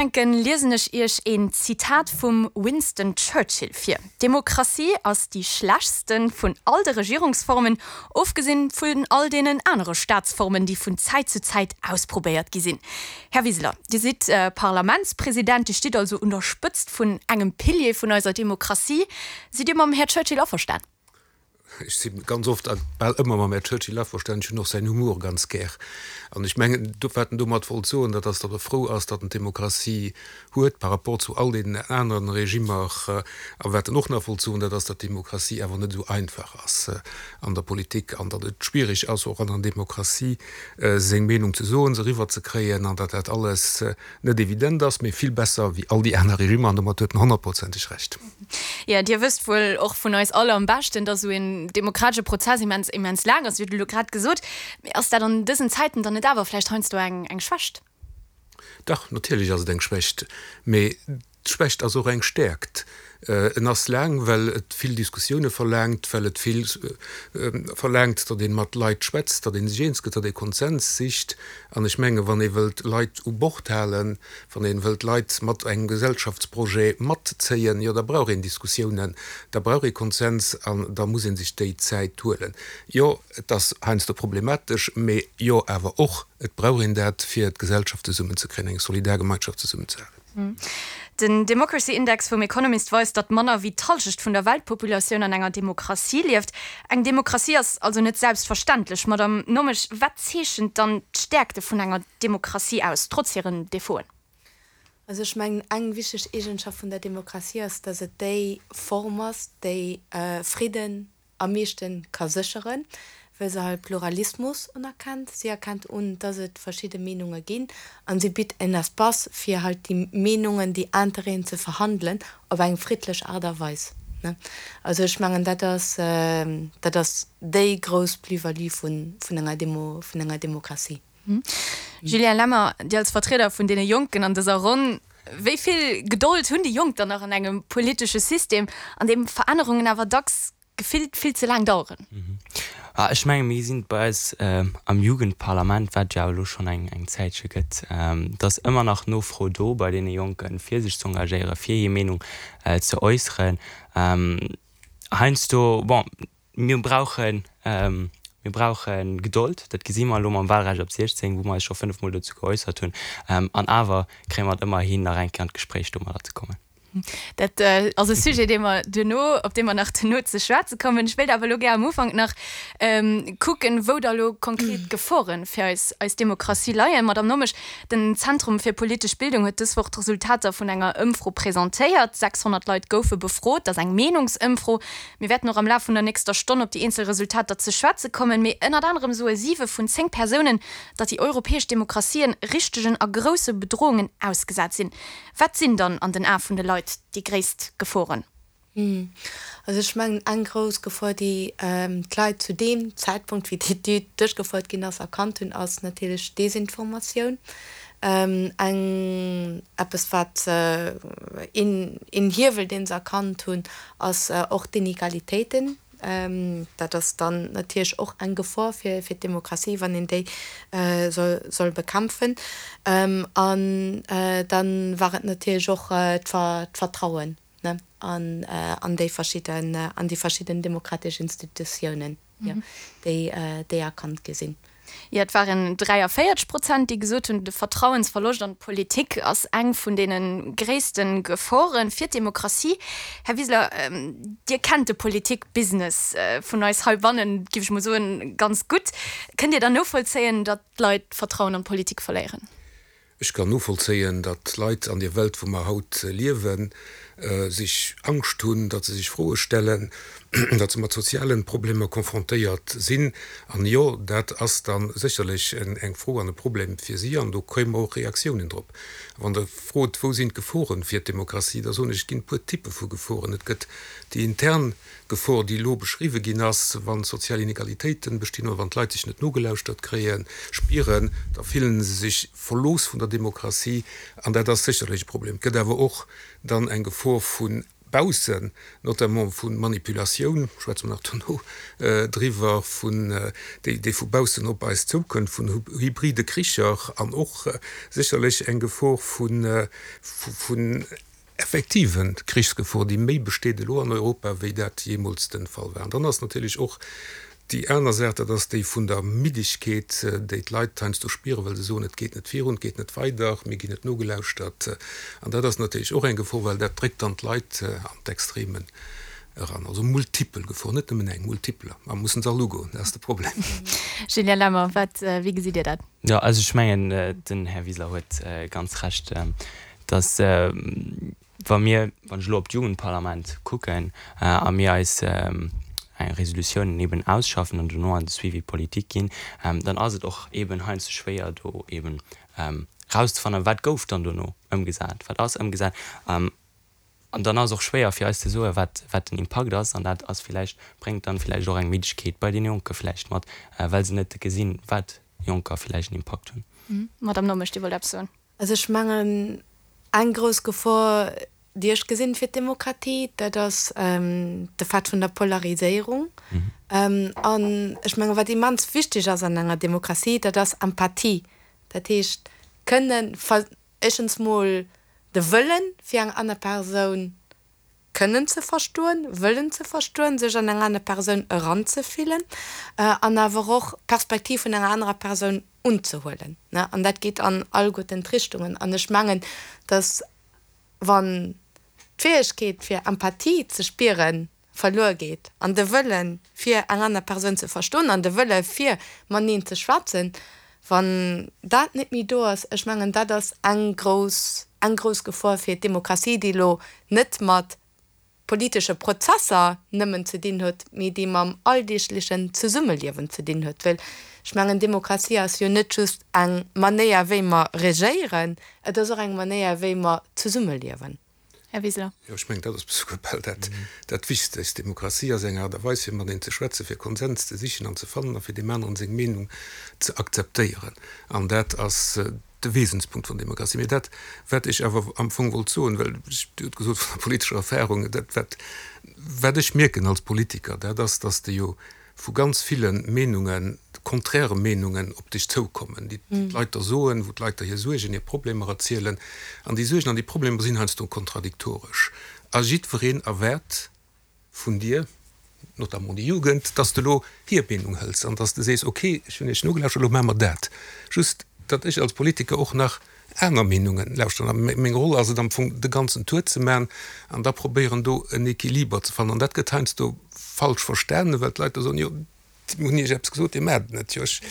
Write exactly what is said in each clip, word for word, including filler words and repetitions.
Ufänken, liesen ech Iech een Zitat vum Winston Churchill vir, D'Demokratie ass déi schlechtste vun all de Regierungsformen, ofgesinn vun all deenen anere Staatsformen, déi vun Zäit zu Zäit ausprobéiert gi sinn. Här Wiseler, Dir sidd Parlamentspresident, Dir stitt also un der Spëtzt vun engem Pilier vun eiser Demokratie. Sidd Dir mam Här Churchill averstan? Ech si ganz oft a bal ëmmer mam Här Churchill averstanen. Ech hunn och säin Humor ganz gär. An ech mengen, wat en domat wollt soen, dat ass, datt e frou ass, datt en d'Demokratie huet par rapport zu all deenen aneren Regimmer. A wat en och nach wollt soen, dat ass, datt d'Demokratie awer net esou einfach ass an der Politik an datt et schwierig ass, och an der Demokratie seng Meenung ze soen, se eriwwerzekréien an datt dat alles net evident ass, mee vill besser wéi all déi aner Regimmer. An domat huet en honnertprozenteg Recht. Jo, Dir wësst wuel och vun eis all am beschten, datt esou een demokratesche Prozess immens, immens laang ass. Dir hutt elo grad gesot. Mee ass dat an dësen Zäiten dann net awer vläicht heiansdo eng, eng Schwächt? Dach, natierlech ass et eng Schwächt. Mee d'Schwächt ass och eng Stäerkt. En ass laang, well et vill Diskussioune verlaangt, well et vill verlaangt, datt ee mat Leit schwätzt, datt ee sech eens gëtt, datt ee Konsens sicht. An ech menge wann ee wëllt Leit u Bord halen, wann ee wëllt Leit mat engem Gesellschaftsprojet matzéien, jo da brauch een Diskussiounen, da brauch ee Konsens an da muss ee sech déi Zäit huelen. Jo, et ass heiansdo problematesch, mee jo awer och, et brauch een dat, fir d'Gesellschaft zesummenzekréien, eng solidar Gemeinschaft zesummenzehalen. Den Democracy Index vum Economist weist, datt manner wéi d'Hallschecht vun der Weltpopulatioun an enger Demokratie lieft. Eng Demokratie ass also net selbstverständlech. Madamm Nommesch, wat zeechent dann d'Stäerkte vun enger Demokratie aus, trotz hiren Defauten? Also ech mengen, eng wichteg Eegenschaft vun der Demokratie ass, datt et déi Form ass, déi Fridden am meeschte ka sécheren, well se halt Pluralismus unerkennt. Si erkennt un, dass et verschidde Meenunge ginn a si bitt en Espace, fir halt déi Meenungen, déi Interêten ze verhandelen op eng friddlech Aart a Weis. Also ech mengen, dat ass, dat ass déi grouss Plus-value vun, vun enger Demo, vun enger Demokratie. Julien Lemmer, Dir als Vertrieder vun deene Jonken an dëser Ronn, wéi vill Gedold hunn déi Jonk dann nach an engem politesche System, an deem Verännerungen awer dacks gefillt vill ze laang daueren? Ech menge mir gesinn et bei eis am Jugendparlament, wat et jo awer elo schonn eng eng Zäitche gëtt, et ass ëmmer nach Nofro do bei deene Jonken, fir sech ze engagéieren, fir hir Meenung ze äusseren. Heiansdo, bon, mir brauchen, mir brauche Gedold, dat gesi mer elo mam Wahlrecht ab siechzéng, wou mer eis scho fënnef Mol dozou geäussert hunn, an awer kréie mer et ëmmer hin, nach eng Kéier an d'Gespréich domadder ze kommen. Dat ass e Sujet, dee mer duerno, op dee mer nach duerno ze schwätze kommen. Ech wéilt awer elo gär am Ufank nach kucken, wou da elo konkret d'Gefore fir eis, eis Demokratie leien. Madamm Nommesch, den Zentrum fir politesch Bildung huet dës Woch d'Resultater vun enger Ëmfro presentéiert. sechshonnert Leit goufe befrot. Dat ass eng Meenungsëmfro. Mir wäerten och am Laf vun der nächster Stonn op déi eenzel Resultater ze schwätze kommen. Mee ënnert anerem soe siwe vun zéng Persounen, datt déi europäesch Demokratien richtegen a grousse Bedrohungen ausgesat sinn. Wat sinn dann an den Ae vun de Leit déi gréisst Geforen? Also ech mengen, eng grouss Gefor, déi d'Leit zu deem Zäitpunkt, wéi d'Etüd duerchgefouert ginn ass, erkannt hunn, ass natierlech d'Desinformatioun. Eng, eppes wat een, een Hiewel, dee se erkannt hunn, ass och d'Inegalitéiten. Dat ass dann natierlech och eng Gefor fir d'Demokratie, wann een déi soll bekämpfen. An da war et natierlech och d'Vertrauen an déi verschidden, an déi verschidden demokratesch Institutiounen, déi erkannt gi sinn. Jo, et waren dräiavéierzeg Prozent, déi gesot hunn, de Vertrauensverloscht an d'Politik ass eng vun deene gréisste Gefore fir d'Demokratie. Här Wiseler, Dir kennt de Politikbusiness vun eis heibannen, géif ech mol soen, ganz gutt. Kënnt Dir dann novollzéien, datt d'Leit d'Vertrauen an d'Politik verléieren? Ech kann novollzéien, datt d'Leit an deer Welt, wou mer haut liewen, sech Angscht hunn, datt se sech Froe stellen, datt se mat soziale Problemer confrontéiert sinn. An jo, dat ass da sécherlech eng Fro an e Problem fir si an do kréie mer och Reaktiounen drop. Wann Der frot, wou sinn d'Geforen fir d'Demokratie, da soen ech, et ginn e puer Typpe vu Geforen. Et gëtt déi intern Gefor, déi elo beschriwwe ginn ass, wa sozial Inegalitéiten bestinn oder wann d'Leit sech net nogelauschtert kréien, spieren, da fillen se sech verlooss vun der Demokratie an dat ass sécherlech e Problem. Et gëtt awer och dann eng Gefor vu baussen, notamment vu Manipulatioun, schwätze mer nach dono driwwer, vun, déi, déi vu baussen op eis zoukënnt, vun hybride Kricher an och sécherlech eng Gefor vun, vun effektive Krichsgefor, déi méi besteet elo an Europa, wéi dat jeemools de Fall war. An dann ass natierlech och déi aner Saach, dat ass déi vun der Middegkeet, déi d'Leit heiansdo spieren, well se soen, et geet net virun, et geet net weider, mir ginn net nogelauschtert. An dat ass natierlech och eng Gefor, well dat dréckt dann d'Leit an d'Extremen eran. Also multipel Geforen, net nëmmen eng, multipeler. A mir mussen se all ugoen, dat ass de Problem. Julien Lemmer, wat, wéi gesitt Dir dat? Jo, also ech mengen, den Här Wiseler huet ganz Recht, dass, wa mir, wann ech elo op d'Jugendparlament kucken a mir eis eng Resolutioun eben ausschaffen an dono an de Suivi politique ginn, dann ass et och eben heiansdo schwéier do eben erauszefannen, wat gouf dann dono ëmgesat, wat ass ëmgesat. An dann ass och schwéier fir eis ze soen, wat wat den Impakt ass. An dat ass villäicht, bréngt dann villäicht och eng Middegkeet bei deene Jonke villäicht mat, well se net gesinn, wat Jonker villäicht en Impakt hunn. Madame Nommesch, Dir wollt eppes soen. Also ech mengen, eng grouss Gefor, déi ech gesinn fir d'Demokratie, dat ass de Fait vun der Polariséierung. An ech mengen, wat immens wichteg ass an enger Demokratie, dat ass Empathie. Dat heescht, kënnen, éischtens mol de Wëllen, fir eng aner Persoun kënnen ze verstoen, wëllen ze verstoen, sech an eng aner Persoun eranzefillen an awer och d'Perspektiv vun enger anerer Persoun unzehuelen. An dat geet an alleguerten d'Richtungen. An ech mengen, dass wann d'Fäegkeet fir Empathie ze spiere verluer geet an de Wëllen, fir eng aner Persoun ze verstoen an de Wëlle fir mateneen ze schwätzen, wann dat net méi do ass, ech mengen, dat ass eng grouss, eng grouss Gefor fir d'Demokratie, déi elo net mat politesche Prozesser nëmmen ze dinn huet, mee déi mam alldeeglechen Zesummeliewen ze dinn huet. Well ech mengen, Demokratie ass jo net just eng Manéier, wéi mer regéieren, et ass och eng Manéier, wéi mer zesummeliewen. Här Wiseler. Jo, ech mengen, dat ass souguer bal dat, dat Wichtegst. Demokratie ass eng Aart a Weis, fir mateneen ze schwätzen, fir Konsens ze sichen an ze fannen a fir deem aneren seng Meenung ze akzeptéieren. An dat ass de Wesenspunkt vun Demokratie. Mee dat, wat ech awer am Fong wollt soen, well ech, Dir hutt gesot, vun der politescher Erfahrung, dat, wat, wat ech mierken als Politiker, dat ass, dass de jo vu ganz ville Meenungen, konträre Meenungen op dech zoukommen, déi d'Leit der soen, wou d'Leit der hir Suergen, hir Problemer erzielen. An déi Suergen an déi Problemer sinn heiansdo kontradiktoresch. A jiddwereen erwaart vun dir, notamment déi Jugend, dass de elo hir Meenung hëls an dass de sees, okay, ech hunn iech nogelauschtert, elo maache mer dat. Just, datt ech als Politiker och nach aner Meenungen lauschteren. A meng Roll ass et am Fong, de ganzen Tour ze maachen an da probéieren, do en Equiliber ze fannen. An dat gëtt heiansdo falsch verstanen, well d'Leit da soen, jo, mir hunn Iech eppes gesot, Dir maacht et net. Jo, ech,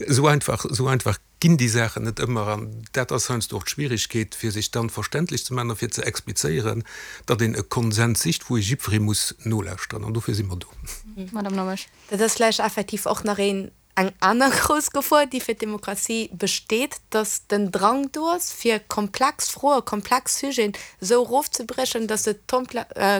esou einfach, esou einfach ginn déi Saachen net ëmmer. An dat ass heiansdo och d'Schwierigkeet, fir sech dann verständlech ze maachen a fir ze explizéieren, datt een e Konsens sicht, wou ee jiddweree muss nolauschteren. An dofir si mer do. Madame Nommesch. Dat ass vläicht effektiv och nach een Eng aner grouss Gefor, déi fir d'Demokratie besteet, datt den Drang do ass, fir komplex Froen, komplex Sujeten esou erofzebriechen, datt se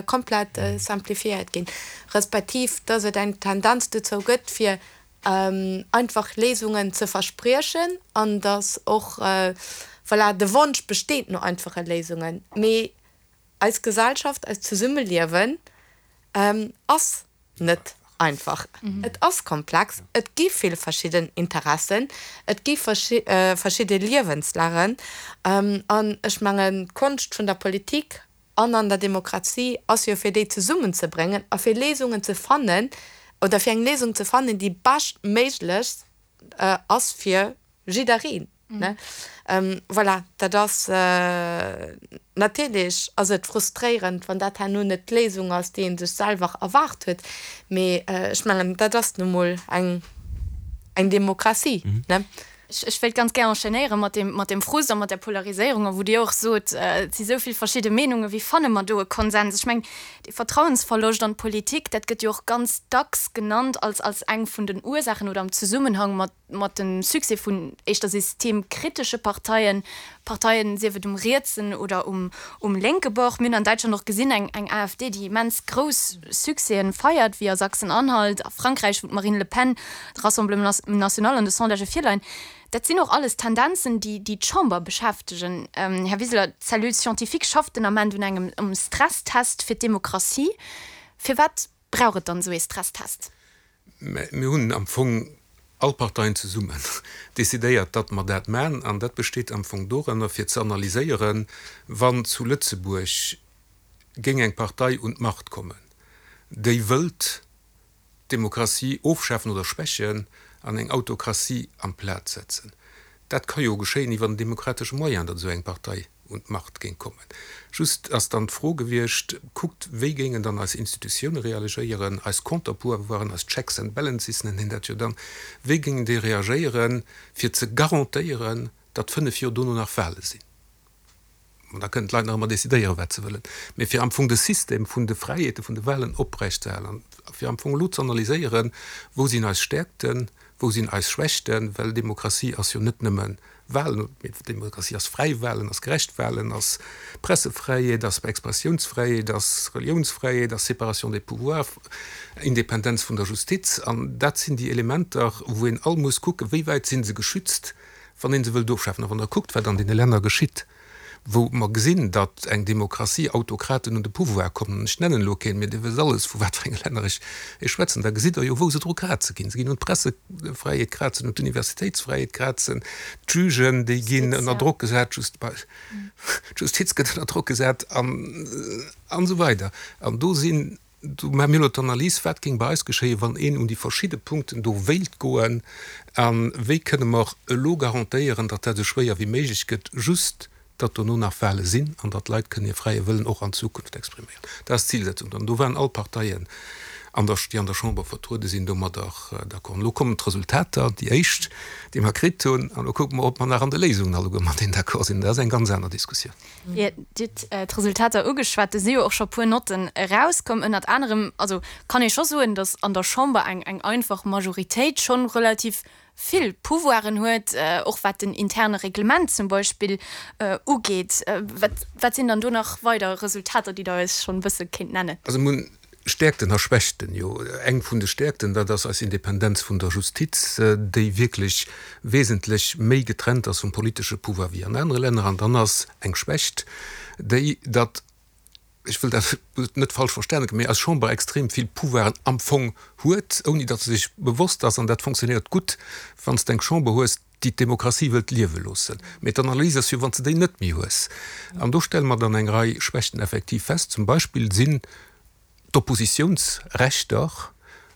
komplett simplifiéiert ginn, respektiv datt et eng Tendenz dozou gëtt, fir einfach Léisungen ze verspriechen an datt och, voilà, de Wonsch besteet no einfache Léisungen. Mee eis Gesellschaft, eist Zesummeliewen ass net einfach. Et ass komplex, et gi vill verschidden Interessen, et gi verschidde Liewenslagen. An ech mengen, d'Konscht vun der Politik an an der Demokratie ass jo, fir déi zesummenzebréngen a fir Léisungen ze fannen oder fir eng Léisung ze fannen, déi beschtméiglechst ass fir jiddereen. Voilà, dat ass, natierlech ass et frustréierend, wann dat herno net d'Léisung ass, déi ee sech selwer erwaart huet, mee ech mengen, dat ass nu mol eng Demokratie. Ech wéilt ganz gär enchaînéiere mat deem, mat deem Frust a mat där Polariséierung, a wou Dir och sot, et si sou vill verschidde Meenungen, wéi fanne mer do e Konsens? Ech mengen, dee Vertrauensverloscht an d'Politik, dat gëtt jo och ganz dacks genannt als, als eng vun den Ursaachen oder am Zesummenhang mat, mat dem Succès vun éischter systemkritesche Parteien, Parteien, sief et um rietsen oder um, um lénke Bord. Mir hunn an Däitschland och gesinn, eng, eng AfD, déi immens grouss Succèsen feiert, wéi a Sachsen-Anhalt, a Frankräich, wou d'Marine Le Pen, de Rassemblement National an de Sondagë virleien. Dat sinn och alles Tendenzen, déi déi d'Chamber beschäftegen. Här Wiseler, d'Cellule scientifique schafft den Ament un engem Stresstest fir d'Demokratie. Firwat brauch et dann esou ee Stresstest? Mä mir hunn am Fong all Parteien zesummen decidéiert, datt mer dat maachen. An dat besteet am Fong doranner, fir ze analyséieren, wann zu Lëtzebuerg géing eng Partei un d'Macht kommen, déi wëllt d'Demokratie ofschafen oder schwächen an eng Autokratie amplaz setzen. Dat ka jo geschéien iwwer en demokratesche Moyen, datt esou eng Partei un d'Macht géing kommen. Just ass dann d'Fro gewiescht, kuckt, wéi géingen dann eis Institutioune reagéieren, eis Conterpouvoiren, eis Checks and Balances nennen een dat jo dann, wéi géingen déi reagéieren, fir ze garantéieren, datt fënnef Joer dono nach Wahle sinn. An da kënnen d'Leit nach ëmmer decidéieren, wat se wëllen. Mee fir am Fong de System vun de Fräiheete vun de Wahlen oprechtzehalen an fir am Fong elo ze analyséieren, wou sinn eis Stäerkten, wou sinn eis Schwächten, well Demokratie ass jo net nëmme Wahlen, mee Demokratie ass fräi Wahlen, ass gerecht Wahlen, ass Pressefräiheet, ass Expressiounsfräiheet, ass Reliounsfräiheet, ass Séparation des pouvoirs, Independenz vun der Justiz. An dat sinn déi Elementer, wou een all muss kucken, wéi wäit si se geschützt, wann ee se wëllt ofschafen. A wann Der kuckt, wat an deene Länner geschitt, wou mer gesinn, datt eng Demokratie, Autokraten un de Pouvoir kommen, an ech nennen elo keen, mee Dir wësst alles, vu wat fir enge Länner ech schwätzen, da gesitt Der jo, wou se dru kraze ginn. Se ginn un d'Pressefräiheet krazen, un d'Universitéitsfräiheet krazen, d'Jugen, déi ginn ënner Drock gesat, d'Justiz gëtt ënner Drock gesat an esou weider. An do sinn, do maache mir elo d'Analys, wat géing bei eis geschéien, wann een un déi verschidde Punkten do wéilt goen, a wéi kënne mer elo garantéieren, datt dat esou schwéier wéi méiglech gëtt, just datt dono nach Wahle sinn an datt d'Leit kënnen hir fräie Wëllen och an Zukunft expriméieren. Dat ass d'Zilsetzung. An do waren all Parteien, an der, déi an der Chamber vertruede sinn, domadder d'accord. An elo kommen d'Resultater, déi éischt, déi mer kritt hunn, an elo kucke mer, ob mer nach an de Léisungen alleguer mateneen d'accord sinn. Dat ass eng ganz aner Diskussioun. Dir hutt d'Resultater ugeschwat. Do si jo och scho puer Notten erauskomm. Ënnert anerem, also kann ee scho soen, datt an der Chamber eng eng einfach Majoritéit schonn relativ vill Pouvoiren huet, och wat den interne Reglement zum Beispill ugeet. Wat wat sinn dann do nach weider Resultater, déi Der eis schonn e bësse kéint nennen? Also mir hunn Stäerkten a Schwächten. Jo, eng vun de Stäerkten, dat ass eis Independenz vun der Justiz, déi wierklech wesentlech méi getrennt ass vum politesche Pouvoir wéi an anere Länner. An dann ass eng Schwächt déi, datt, ech wëll dat net falsch verstanen ginn, mee eis Chamber extrem vill Pouvoiren am Fong huet, ouni datt se sech bewosst ass. An dat fonctionnéiert gutt, wann s de eng Chamber hues, déi d'Demokratie wëllt liewe loossen. Mee d'Analys ass jo, wann s de déi net méi hues. An do stelle mer dann eng Rei Schwächten effektiv fest. Zum Beispill sinn d'Oppositiounsrechter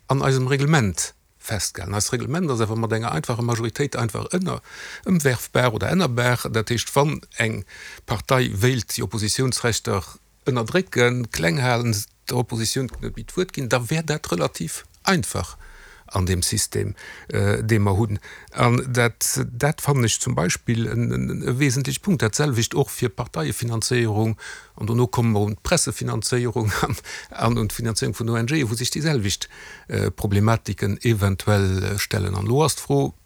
an eisem Reglement festgehalen. Eist Reglement ass awer mat enger einfacher Majoritéit einfach ënner ëmwerfbar oder ännerbar. Dat heescht, wann eng Partei wéilt déi Oppositiounsrechter ënnerdrécken, kleng halen, der Oppositioun net méi d'Wuert ginn, da wär dat relativ einfach an deem System, dee mer hunn. An dat, dat fannen ech zum Beispill e wesentleche Punkt. Dat selwecht och fir d'Parteiefinanzéierung. An dono komme mer un d'Pressefinanzéierung an un d'Finanzéierung vun ONGen, wou sech déi selwecht Problematiken eventuell stellen. An elo ass d'Fro,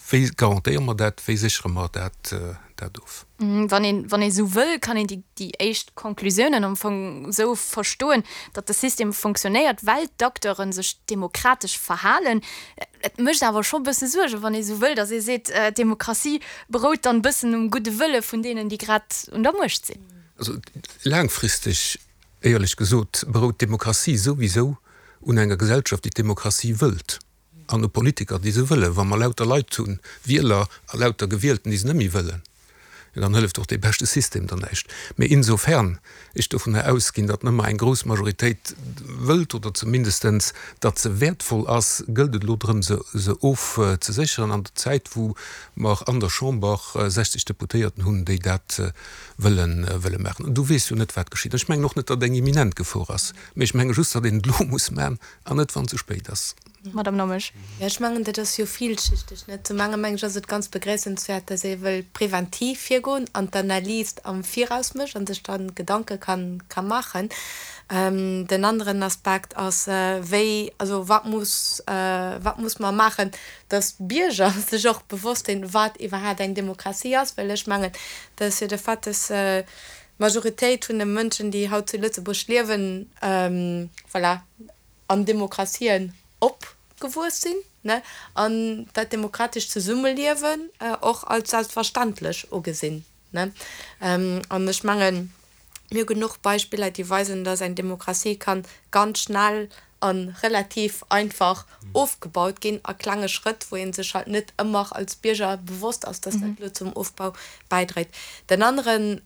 Wéi garantéiere mer dat? Wéi séchere mer dat dat of? Wann een, wann ee sou wëll, kann een déi, déi éischt Konklusiounen am Fong esou verstoen, datt de System fonctionnéiert, well d'Acteure sech demokratesch verhalen. Et mécht awer scho bësse Suergen, wann ee sou wëll, datt ee seet, d'Demokratie berout dann bëssen um gudde Wëlle vun deenen, déi grad un der Muecht sinn. Also laangfristeg, éierlech gesot, berout d'Demokratie souwisou un enger Gesellschaft, déi d'Demokratie wëllt. An u Politiker, déi se wëllen. Wa mer lauter Leit hunn, Wieler a lauter Gewielten, déi se net méi wëllen, jo dann hëlleft och dee beschte System der näischt. Mee insofern ech dovunner ausginn, datt nëmmer eng grouss Majoritéit wëllt, oder zumindestens datt se wäertvoll ass, gëllt et elo drëm, se se ofzesécheren an der Zäit, wou mer an der Chamber sechzeg Deputéierten hunn, déi dat wëllen wëlle maachen. An du weess jo net, wat geschitt. An ech mengen och net, datt eng imminent Gefor ass, mee ech menge just, datt een et elo muss maachen an net, wann et ze spéit ass. Madame Nommesch. Jo, ech mengen, dat ass jo villschichteg, net? Zum enge mengen ech, ass et ganz begréissenswäert, dass ee wëll preventiv virgoen an d'Analys am Viraus mécht a sech da Gedanke ka maachen. Den aneren Aspekt ass, wéi, also wat muss, wat muss mer maachen, dass d'Bierger sech och bewosst sinn, wat iwwerhaapt eng Demokratie ass, well ech mengen, dat ass jo de Fait, dass d'Majoritéit vun de Mënschen, déi haut zu Lëtzebuerg liewen, voilà, an Demokratien op gewuess sinn, ne, an dat demokratescht Zesummeliewen och als selbstverständlech ugesinn, ne. An ech mengen, mir hu genuch Beispiller, déi weisen, dass eng Demokratie kann ganz schnell a relativ einfach ofgebaut ginn a klenge Schrëtt, wou ee sech halt net ëmmer als Bierger bewosst ass, dass dat elo zum Ofbau bäidréit. Den aneren